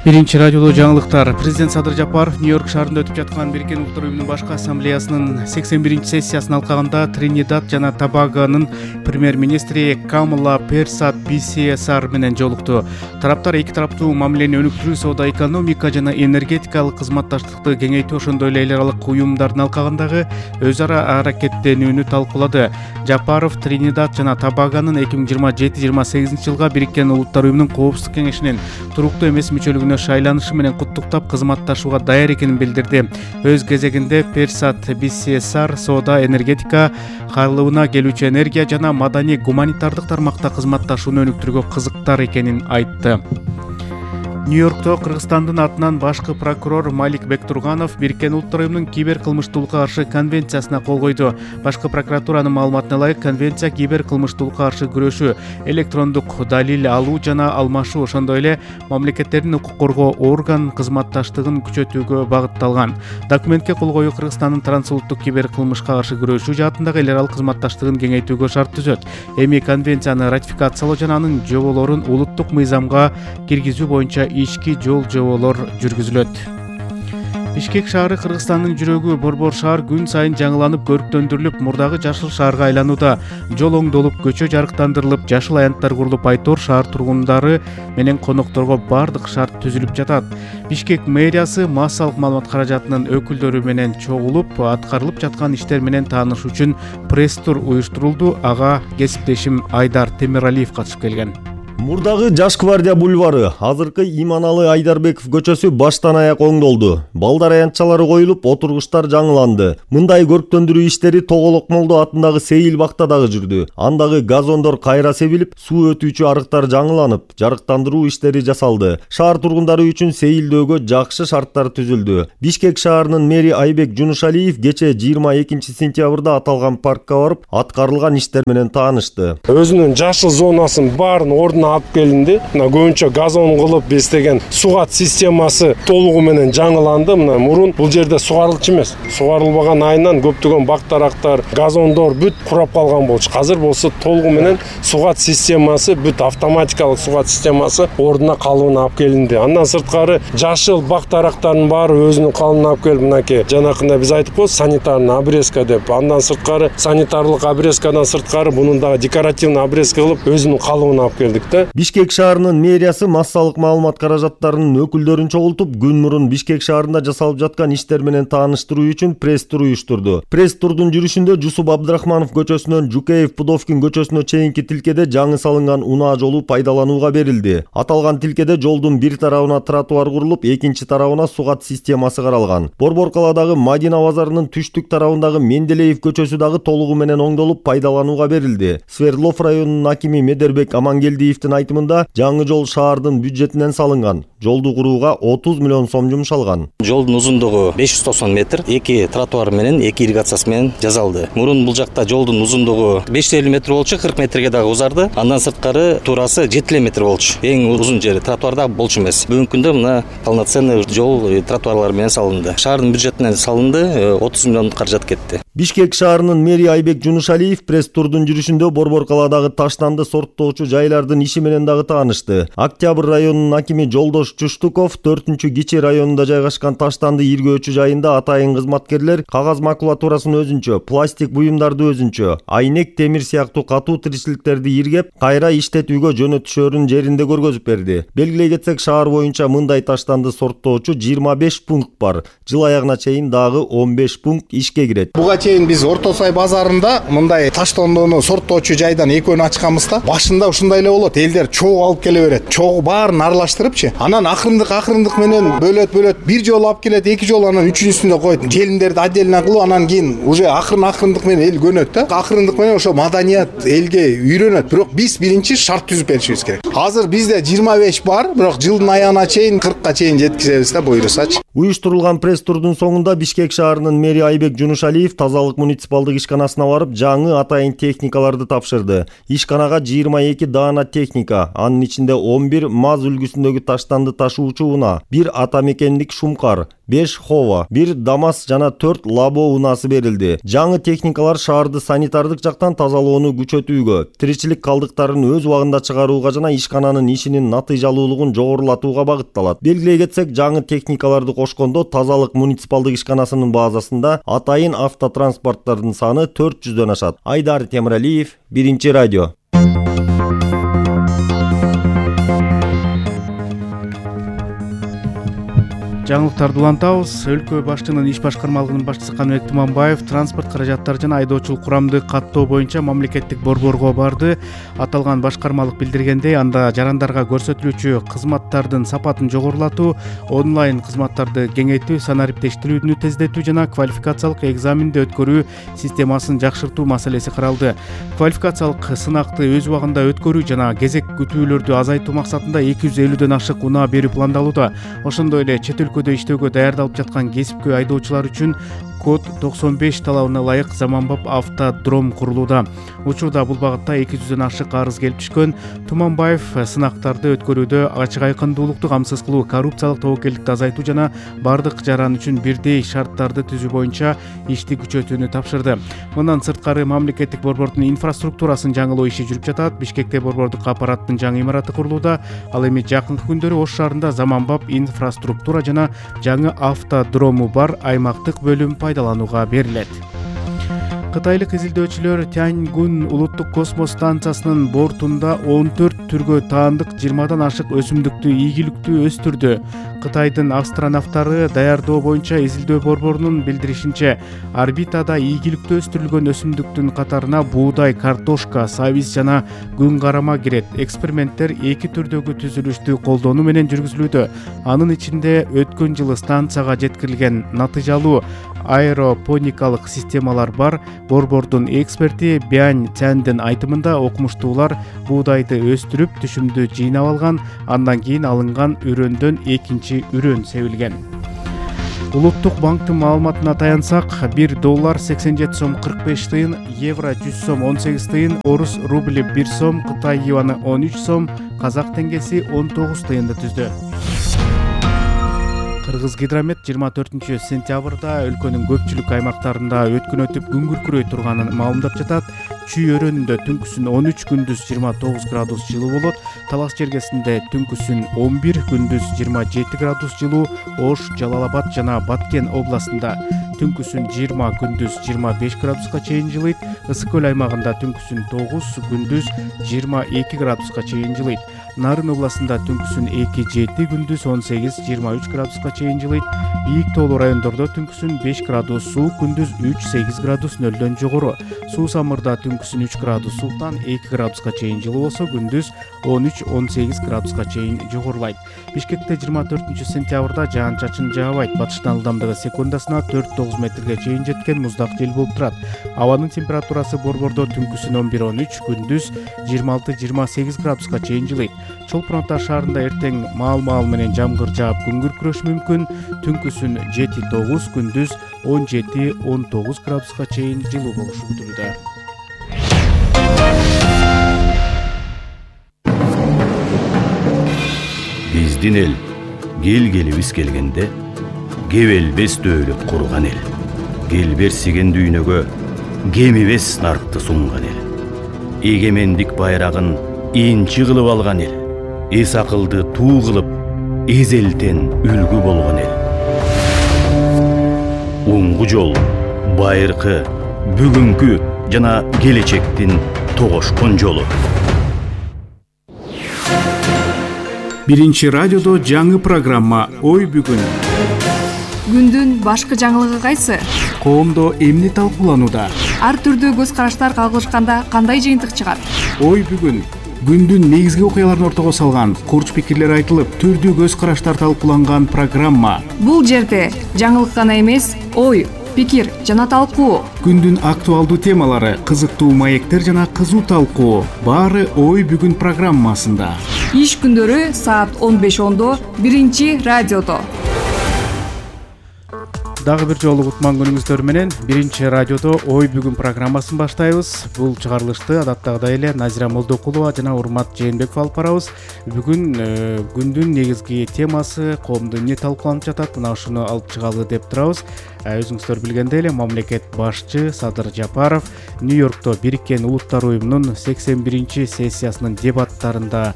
Биринчи радиолуу жаңылыктар. Президент Садыр Жапаров Нью-Йорк шаарында өтүп жаткан Бириккен Улуттар уюмунун башкы ассамблеясынын 81-чи сессиясын алкагында Тринидад жана Тобагонун премьер-министри Камала Персат Бисиесар менен жолукту. Тараптар эки тараптуу мамилени өнүктүрүү, соода, экономика жана энергетикалык кызматташтыкты кеңейтүү, ошондой эле эл аралык уюмдардын алкагындагы өз ара аракеттенүүнү талкуулады. Жапаров Тринидад жана Тобагонун 2027-28 жылга Бириккен Улуттар уюмунун Коопсуздук кеңешинин туруктуу эмес мүчөлүгүнө шайланышы менен куттуктап, кызматташууга даяр экенин билдирди. Өз кезегинде Персат Бисиесар соода, энергетика, кайрылууна келүүчү энергия жана маданий гуманитардык тармакта кызматташууну өнүктүрүүгө кызыктар экенин айтты. Нью-Йоркто Кыргызстандын атынан башкы прокурор Малик Бектурганов Бириккен Улуттар уюмунун кибер кылмыштуулукка каршы конвенциясына кол койду. Башкы прокуратуранын маалыматына ылайык, конвенция кибер кылмыштуулукка каршы күрөшүү, электрондук далил алуу жана алмашуу, ошондой эле мамлекеттердин укук коргоо орган кызматташтыгын күчөтүүгө багытталган. Документке кол коюу Кыргызстандын трансулуттук кибер кылмышка каршы күрөшүү жаатындагы эл аралык кызматташтыгын кеңейтүүгө шарт түзөт. Эми конвенцияны ратификациялоо жана анын жоболорун улуттук мыйзамга киргизүү боюнча ички жоболор жүргүзүлөт. Бишкек шаары Кыргызстандын жүрөгү. Борбор шаар күн сайын жаңыланып, көрктөндүрүлүп, мурдагы жашыл шаарга айланууда. Жол оңдолуп, көчө жарыктандырылып, жашыл аянттар курулуп, айтор шаар тургундары менен конокторго бардык шарт түзүлүп жатат. Бишкек мэриясы массалык маалымат каражатынын өкүлдөрү менен чогулуп, аткарылып жаткан иштер менен таанышуу үчүн пресс-тур уюштурулду. Ага кесиптешим Айдар Темиралиев катышып келген. Мурдагы Жаш гвардия бульвары, азыркы Иманалы Айдарбеков көчөсү баштан аяк оңдолду. Балдар аянтчалары коюлуп, отургучтар жаңыланды. Мындай көрктөндүрүү иштери Тоголок Молдо атындагы Сейил бакта дагы жүрдү. Андагы газондор кайра себилип, суу өтүүчү арыктар жаңыланып, жарыктандыруу иштери жасалды. Шаар тургундары үчүн сейилдөөгө жакшы шарттар түзүлдү. Бишкек шаарынын мэри Айбек Жунушалиев кече 22 сентябрда аталган паркка барып, аткарылган иштер менен таанышты. Өзүнүн жашыл зонасын баарын ордуна алып келинди. Мына көбүнчө газон кылып бестеген сугат системасы толугу менен жаңыланды. Мына мурун бул жерде сугарылчу эмес. Сугарылбаган айынан көптөгөн бак-дарактар, газондор бүт курап калган болчу. Азыр болсо толугу менен сугат системасы, бүт автоматикалык сугат системасы ордуна калыбына алып келинди. Андан сырткары жашыл бак-дарактардын баары өзүнүн калыбына алып келип, мынакей жанакында биз айтып коебуз санитарный обрезка деп. Андан сырткары санитарлык обрезкадан сырткары мунун дагы декоративный обрезка кылып өзүнүн калыбына алып келдик. Бишкек шаарынын мэриясы массалык маалымат каражаттарынын өкүлдөрүн чогултуп, күн мурун Бишкек шаарында жасалып жаткан иштер менен тааныштыруу үчүн пресс-тур уюштурду. Пресс-турдун жүрүшүндө Жусуп Абдрахманов көчөсүнөн Жукеев Пудовкин көчөсүнө чейинки тилкеде жаңы салынган унаа жолу пайдаланууга берилди. Аталган тилкеде жолдун бир тарабына тротуар курулуп, экинчи тарабына сугат системасы каралган. Борбор калаадагы Мадина базарынын түштүк тарабындагы Менделеев көчөсү дагы толугу менен оңдолуп, пайдаланууга берилди. Свердлов районунун акими Медербек Амангелдиевдин айтымында, жаңы жол шаардын бюджетинен салынган. Жолду курууга 30 миллион сом жумшалган. Жолдун узундугу 590 метр, эки тротуар менен, эки ирригациясы менен жасалды. Мурун бул жакта жолдун узундугу 550 метр болчу, 40 метрге дагы узарды. Андан сырткары туурасы 7 метр болчу. Эң узун жери тротуарда болчу эмес. Бүгүнкү күндө мына полноценный жол тротуарлар менен салынды. Шаардын бюджетинен салынды, 30 миллион каражат кетти. Бишкек шаарынын мэри Айбек Жунушалиев пресс-турдун жүрүшүндө Борбор калаадагы таштанды сорттоочу жайлардын иши менен дагы таанышты. Октябрь районунун акими Жолдош Чуштуков 4-Кичи районунда жайгашкан таштанды иргөөчү жайында атайын кызматкерлер кагаз макулатурасын өзүнчө, пластик буюмдарды өзүнчө, айнек, темир сыяктуу катуу тиричиликтерди иргеп, кайра иштетүүгө жөнөтүшөрүн жеринде көргөзүп берди. Белгилей кетсек, шаар боюнча мындай таштанды сорттоочу 25 пункт бар. Жыл аягына чейин дагы 15 пункт ишке кирет. Биз Орто Сай базарында мындай таштандоону сорттоочу жайдан экөөнү ачканбыз да. Башында ушундай эле болот. Элдер чогуу алып келе берет. Чогуу баарын аралаштырыпчы. Анан акырындык менен бөлөт. Бир жолу алып келет, эки жолу анан үчүнчүсүндө коет. Желимдерди отдельно кылып, анан кийин уже акырындык менен эл көнөт да. Акырындык менен ошо маданият элге үйрөнөт. Бирок биз биринчи шарт түзүп беришибиз керек. Азыр бизде 25 бар, бирок жылдын аягына чейин 40ка чейин жеткизебиз да, буйрусачы. Уюштурулган пресс-турдун соңунда Бишкек шаарынын мэри Айбек Жунушалиев тазалык муниципалдык ишканасына барып, жаңы атайын техникаларды тапшырды. Ишканага 22 даана техника, анын ичинде 11 МАЗ үлгүсүндөгү таштанды ташуучу унаа, 1 атамекендик шумкар, 5 Хова, 1 Дамас жана 4 Лабо унаасы берилди. Жаңы техникалар шаарды санитардык жактан тазалоону күчөтүүгө, тиричилик калдыктарын өз убагында чыгарууга жана ишкананын ишинин натыйжалуулугун жогорулатууга багытталат. Белгилей кетсек, жаңы техникаларды кошкондо тазалык муниципалдык ишканасынын базасында атайын автотранспорттардын саны 400дөн ашат. Айдар Темиралиев, Биринчи радио. Жаңылыктарды улантабыз. Өлкө башчынын иш башкармалыгынын башчысы Каныбек Туманбаев транспорт каражаттары жана айдоочулук курамды каттоо боюнча мамлекеттик борборго барды. Аталган башкармалык билдиргендей, анда жарандарга көрсөтүлүүчү кызматтардын сапатын жогорулатуу, онлайн кызматтарды кеңейтүү, санариптештирүүнү тездетүү жана квалификациялык экзаменди өткөрүү системасын жакшыртуу маселеси каралды. Квалификациялык сынакты өз убагында өткөрүү жана кезек күтүүлөрдү азайтуу максатында 250дөн ашык унаа берүү пландалууда. Ошондой эле чет өлкөдө иштөөгө даярдалып жаткан кесипкөй айдоочулар үчүн код 95 талабына ылайык заманбап автодром курулууда. Учурда бул багытта 200дөн ашык арыз келип түшкөн. Туманбаев сынактарды өткөрүүдө ачык айкындуулукту камсыз кылуу, коррупциялык тобокелдикти азайтуу жана бардык жаран үчүн бирдей шарттарды түзүү боюнча ишти күчөтүүнү тапшырды. Мындан сырткары мамлекеттик борбордун инфраструктурасын жаңылоо иши жүрүп жатат. Бишкекте борбордук аппараттын жаңы имараты курулууда. Ал эми жакынкы күндөрү Ош шаарында заманбап инфраструктура жана жаңы автодрому бар аймактык бөлүм пайдаланууга берилет. Кытайлык изилдөөчүлөр Тяньгун улуттук космос станциясынын бортунда 14 түргө таандык 20дан ашык өсүмдүктү ийгиликтүү өстүрдү. Кытайдын астронавттары даярдоо боюнча изилдөө борборунун билдиришинче, орбитада ийгиликтүү өстүрүлгөн өсүмдүктүн катарына буудай, картошка, сабиз жана күн карама кирет. Эксперименттер 2 түрдөгү түзүлүштү колдонуу менен жүргүзүлүүдө. Анын ичинде өткөн жылы станцияга жеткирилген натыйжалуу аэропоникалык системалар бар. Борбордун эксперти Бянь Цяндын айтымында, окумуштуулар буудайды өстүрүп, түшүмдү жыйнап алган, андан кийин алынган үрөндөн экинчи үрөн себилген. Улуттук банктын маалыматына таянсак, $1 87 сом 45 тыйын, евро 100 сом 18 тыйын, орус рубли 1 сом, Кытай юаны 13 сом, казак теңгеси 19 тыйынды түздү. Кыргыз гидромет 24 сентябрда өлкөнүн көпчүлүк аймактарында өткөн өтүп күн күркүрөй турганын маалымдап жатат. Чүй өрөөнүндө түнкүсүн 13, күндүз 29 градус жылуу болот. Талас чергесинде түнкүсүн 11, күндүз 27 градус жылуу. Ош, Жалал Абад жана Баткен областында түнкүсүн 20, күндүз 25 градуска чейин жылыйт. Ысык көл аймагында түнкүсүн 9, күндүз 22 градуска чейин жылыйт. Нарын областында түнкүсүн 2-7, күндүз 18-23 градуска чейин жылыйт. Бийик тоолуу райондордо түнкүсүн 5 градус суук, күндүз 3-8 градус нөлдөн жогору. Суу самырда түнкүсүн 3 градус сууктан 2 градуска чейин жылуу болсо, күндүз 13-18 градуска чейин жогорулайт. Бишкекте 24 сентябрда жаан-чачын жаабайт. Батыштан ылдамдыгы секундасына 4-9 метрге чейин жеткен муздак жел болуп турат. Абанын температурасы борбордо түнкүсүн 11-13, күндүз 26-28 градуска чейин жылыйт. Чолпон Ата шаарында эртең маал-маал менен жамгыр жаап күн күркүрөшү мүмкүн. Түнкүсүн 7-9, күндүз 17-19 градуска чейин жылуу болушу күтүлүүдө. Биздин эл келгелибиз келгенде кебелбес дөөлөт курган эл. Келберсиген дүйнөгө кемибес наркты сунган эл. Эгемендик байрагын инчи кылып алган эл. Эс акылды туу кылып, эзелтен үлгү болгон эл. Оңгу жол, байыркы, бүгүнкү жана келечектин тогошкон жолу. Биринчи радиодо жаңы программа «Ой бүгүн». Күндүн башкы жаңылыгы кайсы? Коомдо эмне талкууланууда? Ар түрдүү көз караштар кагылышканда кандай жыйынтык чыгат? Ой бүгүн. Күндүн негизги окуяларын ортого салган, курч пикирлер айтылып, түрдүү көз караштар талкууланган программа. Бул жерде жаңылык гана эмес, ой, пикир жана талкуу. Күндүн актуалдуу темалары, кызыктуу маектер жана кызуу талкуу. Баары Ой бүгүн программасында. Иш күндөрү саат 15:10 биринчи радиодо. дагы бир жолу кутман күнүңүздөр менен биринчи радиодо ой бүгүн программасын баштайбыз. Бул чыгарылышты адаттагыдай эле Назира Молдокулова жана Урмат Жээнбеков алып барабыз. Бүгүн күндүн негизги темасы коомдо эмне талкууланып жатат, мына ушуну алып чыгалы деп турабыз. Өзүңүздөр билгендей эле мамлекет башчы Садыр Жапаров Нью-Йоркто Бириккен Улуттар уюмунун 81-чи сессиясынын дебаттарында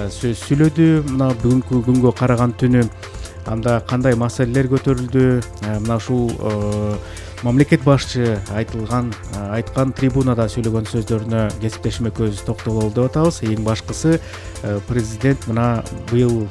сөз сүйлөдү. Мына бүгүнкү күнгө караган түнү анда кандай маселелер көтөрүлдү, мына ушул мамлекет башчы айткан трибунада сүйлөгөн сөздөрүнө кесиптешим экөөбүз токтололу деп атабыз. Эң башкысы президент мына быйыл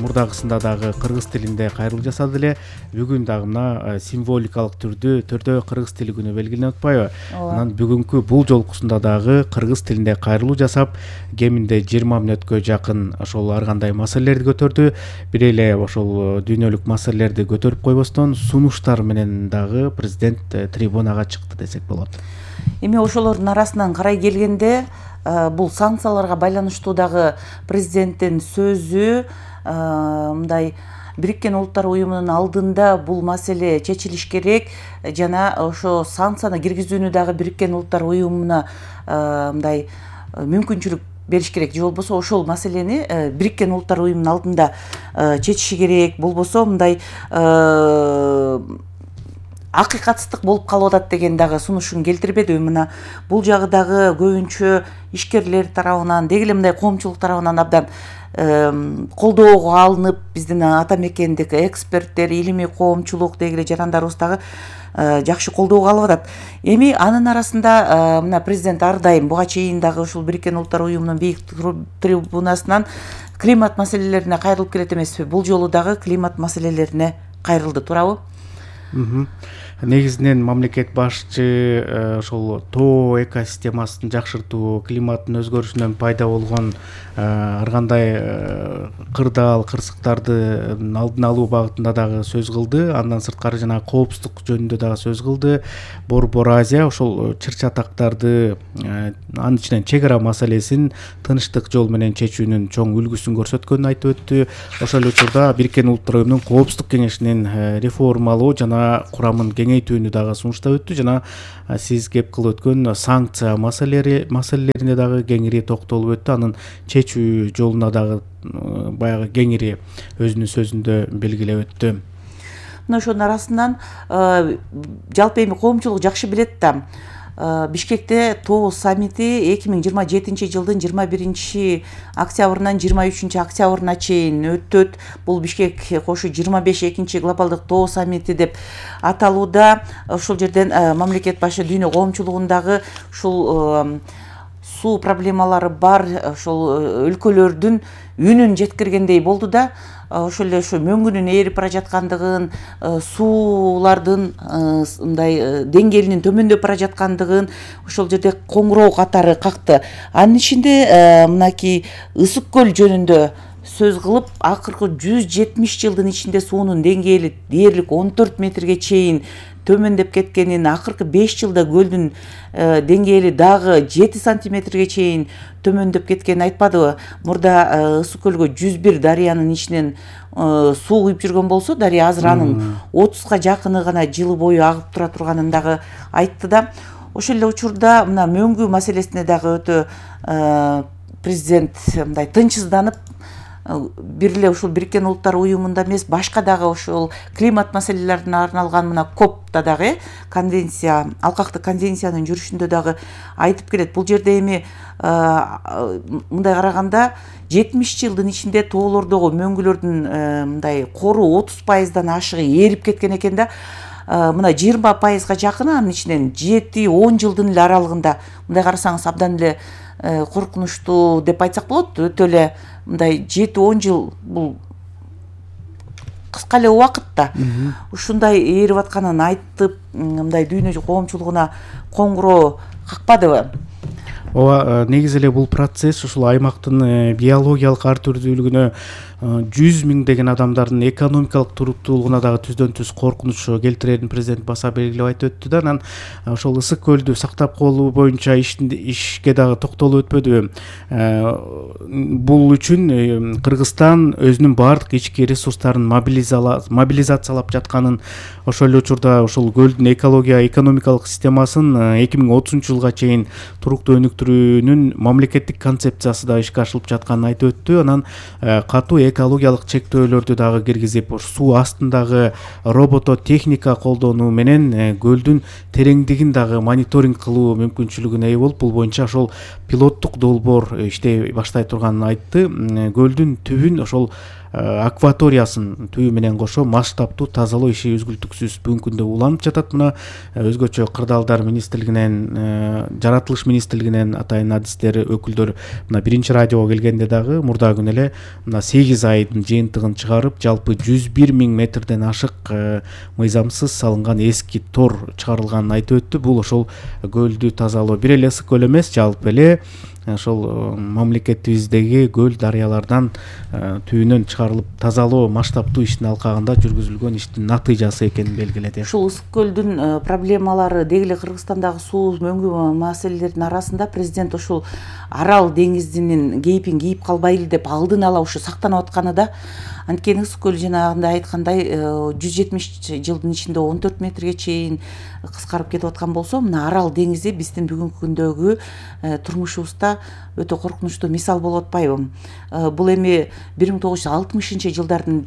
мурдагысында дагы кыргыз тилинде кайрылуу жасады эле. Бүгүн дагы мына символикалык түрдө кыргыз тили күнү белгиленип атпайбы? Анан бүгүнкү бул жолкусунда дагы кыргыз тилинде кайрылуу жасап, кеминде 20 мүнөткө жакын ошол ар кандай маселелерди көтөрдү. Бир эле ошол дүйнөлүк маселелерди көтөрүп койбостон сунуштар менен дагы президент трибунага чыкты десек болот. Эми ошолордун арасынан карай келгенде бул санкцияларга байланыштуу дагы президенттин сөзү мындай Бириккен Улуттар уюмунун алдында бул маселе чечилиш керек жана ошо санкцияны киргизүүнү дагы Бириккен Улуттар уюмуна мындай мүмкүнчүлүк бериш керек. Же болбосо ошол маселени Бириккен Улуттар уюмунун алдында чечиши керек. Болбосо мындай акыйкатсыздык болуп калып атат деген дагы сунушун келтирбедиби? Мына бул жагы дагы көбүнчө ишкерлер тарабынан, деги эле мындай коомчулук тарабынан абдан колдоого алынып, биздин ата мекендик эксперттер, илимий коомчулук, деги эле жарандарыбыз дагы жакшы колдоого алып атат. Эми анын арасында мына президент ар дайым буга чейин дагы ушул Бириккен Улуттар уюмунун бийик трибунасынан климат маселелерине кайрылып келет эмеспи? Бул жолу дагы климат маселелерине кайрылды, туурабы? Негизинен мамлекет башчы ошол тоо экосистемасын жакшыртуу, климаттын өзгөрүшүнөн пайда болгон ар кандай кырдаал-кырсыктардын алдын алуу багытында дагы сөз кылды. Андан сырткары жана коопсуздук жөнүндө дагы сөз кылды. Борбор Азия ошол чыр-чатактарды, анын ичинен чек ара маселесин тынчтык жол менен чечүүнүн чоң үлгүсүн көрсөткөнүн айтып өттү. Ошол эле учурда Бириккен Улуттар уюмунун коопсуздук кеңешинин реформалоо жана курамын кеңейтүүнү дагы сунуштап өттү. Жана сиз кеп кылып өткөн санкция маселелерине дагы кеңири токтолуп өттү. Анын чечүү жолуна дагы баягы кеңири өзүнүн сөзүндө белгилеп өттү. Мына ошонун арасынан жалпы эми коомчулук жакшы билет да. Бишкекте тоо саммити 2027 жылдын 21 октябрынан 23 октябрына чейин өтөт. Бул Бишкек кошу 25 экинчи глобалдык тоо саммити деп аталууда. Ошол жерден мамлекет башы дүйнө коомчулугундагы ушул суу проблемалары бар ошол өлкөлөрдүн үнүн жеткиргендей болду да. Ошол эле ушу мөңгүнүн ээрип бара жаткандыгын, суулардын мындай деңгээлинин төмөндөп бара жаткандыгын ошол жерде коңгуроо катары какты. Анын ичинде мынакей Ысык көл жөнүндө сөз кылып, акыркы 170 жылдын ичинде суунун деңгээли дээрлик 14 метрге чейин төмөндөп кеткенин, акыркы 5 жылда көлдүн деңгээли дагы 7 сантиметрге чейин төмөндөп кеткенин айтпадыбы? Мурда Ысык көлгө 101 дарыянын ичинен суу куюп жүргөн болсо, дарыя азыр анын 30га жакыны гана жылы бою агып тура турганын дагы айтты да. Ошол эле учурда мына мөңгү маселесине дагы өтө президент мындай тынчсызданып, бир эле ушул Бириккен Улуттар уюмунда эмес, башка дагы ушул климат маселелерине арналган мына КОПта дагы конвенция, алкактык конвенциянын жүрүшүндө дагы айтып келет. Бул жерде эми мындай караганда 70 жылдын ичинде тоолордогу мөңгүлөрдүн мындай кору 30%дан ашыгы ээрип кеткен экен да. Мына 20%га жакыны анын ичинен 7-10 жылдын эле аралыгында. Мындай карасаңыз абдан эле коркунучтуу деп айтсак болот. Өтө эле мындай 7-10 жыл бул кыска эле убакыт да. Ушундай ээрип атканын айтып, мындай дүйнө коомчулугуна коңгуроо какпадыбы? ооба, негизи эле бул процесс ушул аймактын биологиялык ар түрдүүлүгүнө 100 миңдеген адамдардын экономикалык туруктуулугуна дагы түздөн түз коркунуч келтирерин президент баса белгилеп айтып өттү да. Анан ошол ысык көлдү сактап калуу боюнча ишке дагы токтолуп өтпөдүбү. Бул үчүн Кыргызстан өзүнүн баардык ички ресурстарын мобилизациялап жатканын, ошол эле учурда ушул көлдүн экономикалык системасын 2030-жылга чейин туруктуу өнүктүрүүнүн мамлекеттик концепциясы да ишке ашырылып жатканын айтып өттү. Анан катуу экологиялык чектөөлөрдү дагы киргизип, суу астындагы робототехника колдонуу менен көлдүн тереңдигин дагы мониторинг кылуу мүмкүнчүлүгүнө ээ болуп, бул боюнча ошол пилоттук долбоор иштей баштай турганын айтты. Көлдүн түбүн, ошол акваториясын түбү менен кошо масштабтуу тазалоо иши үзгүлтүксүз бүгүнкү күндө уланып жатат. Мына өзгөчө кырдаалдар министрлигинен, жаратылыш министрлигинен атайын адистер, өкүлдөр мына биринчи радиого келгенде дагы мурда күнү эле мына 8 айдын жыйынтыгын чыгарып, жалпы 101 миң метрден ашык мыйзамсыз салынган эски тор чыгарылганын айтып өттү. Бул ошол көлдү тазалоо бир эле ысык көл эмес, жалпы эле ошол мамлекетибиздеги көл дарыялардан түбүнөн чыгарылып тазалоо масштабтуу иштин алкагында жүргүзүлгөн иштин натыйжасы экенин белгиледи. Ушул ысык көлдүн проблемалары деги эле Кыргызстандагы суу мөңгү маселелердин арасында президент ушул Арал деңизинин кейипин кийип калбайлы деп алдын ала ушу сактанып атканы да. Анткени ысык көл жанагындай айткандай 170 жылдын ичинде 14 метрге чейин кыскарып кетип аткан болсо, мына Арал деңизи биздин бүгүнкү күндөгү турмушубузда өтө коркунучтуу мисал болуп атпайбы? Бул эми 1960-жылдардын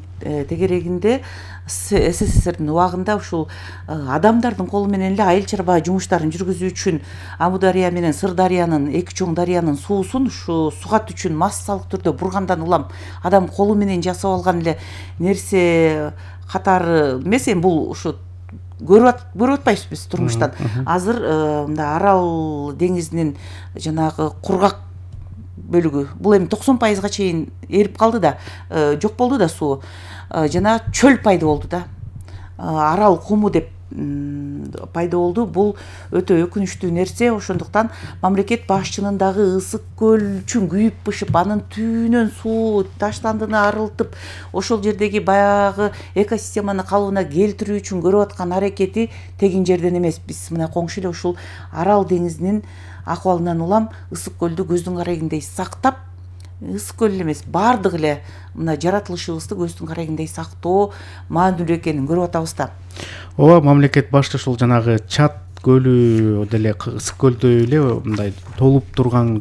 тегерегинде СССРдин убагында ушул адамдардын колу менен эле айыл чарба жумуштарын жүргүзүү үчүн Амударыя менен Сырдарыянын, эки чоң дарыянын суусун ушу сугат үчүн массалык түрдө бургандан улам адам колу менен жасап алган эле нерсе катары эмес. Эми бул ушу көрүп атпайбызбы биз турмуштан. Азыр мында Арал деңизинин жанагы кургак бөлүгү, бул эми 90%га чейин эрип калды да, жок болду да суу. Жана чөл пайда болду да. Арал куму деп пайда болду. Бул өтө өкүнүчтүү нерсе. Ошондуктан мамлекет башчынын дагы ысык көл үчүн күйүп бышып, анын түбүнөн суу таштандыны арылтып, ошол жердеги баягы экосистеманы калыбына келтирүү үчүн көрүп аткан аракети тегин жерден эмес. Биз мына коңшу эле ушул Арал деңизинин акыбалынан улам ысык көлдү көздүн карагиндей сактап, ысык көл эмес, баардык эле мына жаратылышыбызды көздүн карагиндей сактоо маанилүү экенин көрүп атабыз да. Ооба, мамлекет башчы ушул жанагы Чат көлү деле ысык көлдөй эле мындай толуп турган